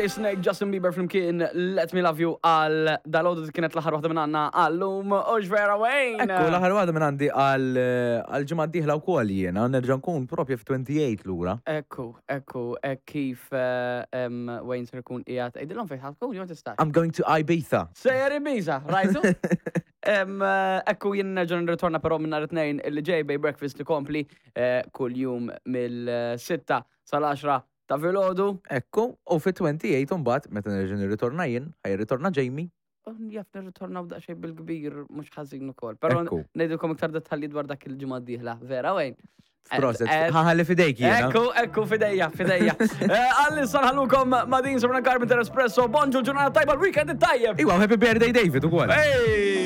DJ Snake, Justin Bieber flimkien Let Me Love You għal dal-għodu kienet l-aħħar waħda minn għandna għallum u x'vera Wayne. Ekku, l-aħħar waħda minn għandi għal għal ġimgħa d-dieħla wkoll jiena, nerġa' nkun propju f'28 lura. Ekku, ekku, hekk kif eh, em, Wayne ser ikun qiegħed. Għidilhom fejn ħa tkun jew tistax. I'm going to Ibiza. Sejjer Ibiza, rajtu? Em, eh, Ekku jien nerġa' nirritorna però minn nhar it-tnejn illi ġej bej breakfast li kompli eh, kull jum mill-6 sal-10 ta' filgħodu. Ekku, u fit-28 mbagħad meta nerġa' nirritorna jien, ħa jirritorna Jamie. U Jaf nirritornaw daqsxejn bil-kbir mhux ħażin ukoll. Però Ekku. ngħidilkom iktar dettalji dwar dak il-ġimgħa d-dieħla. Vera, Wayne? Proset, Eh, ħa nħalli f'idejk jiena. Ekku, ekku, f'idejja, f'idejja. Għalli nħallukom ma' din Sabrina Carpenter Espresso, bonġu ġurnata tajba, l-weekend tajjeb. Iwa, happy birthday David ukoll. Hey!